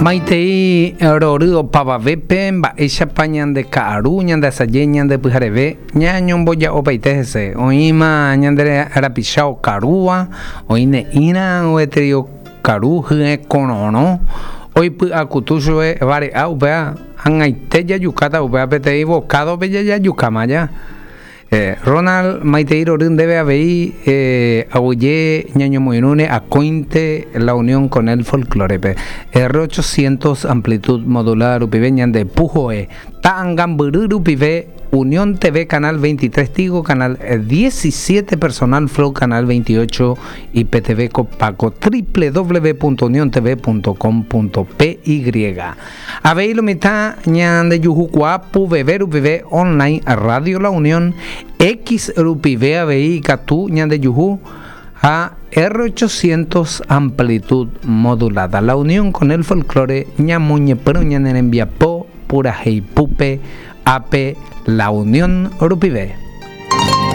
Maitei rory opavavépe mba'éichapa ñande ka'aru, ñande asaje, ñande pyhareve, ñañomboja'opaite hese. Oĩma ñande rapicha okarúva, oĩ ne'ĩra gueteri okaru hye kororõ, oipy'akutu chupe vare'a upéva ag̃aite jajukáta upéva peteĩ vokádope jajajukáma ja. Ronald, maitei rory ndéve avei aguyje ñañomoirũre akóinte La Unión con el Folklore-pe. R800 amplitud modulada rupive ñande puhoe ta'angambyry rupive Unión TV canal 23 Tigo canal 17 Personal Flow canal 28 IPTV Copaco www.uniontv.com.py Avei lo mitã ñandejuhukuaa puveve rupive online Radio La Unión X rupive avei ikatu ñandejuhu ha R800 amplitud modulada. La Unión con el Folklore ñamoñepyrũ ñane rembiapo puraheipúpe ápe La Unión rupive.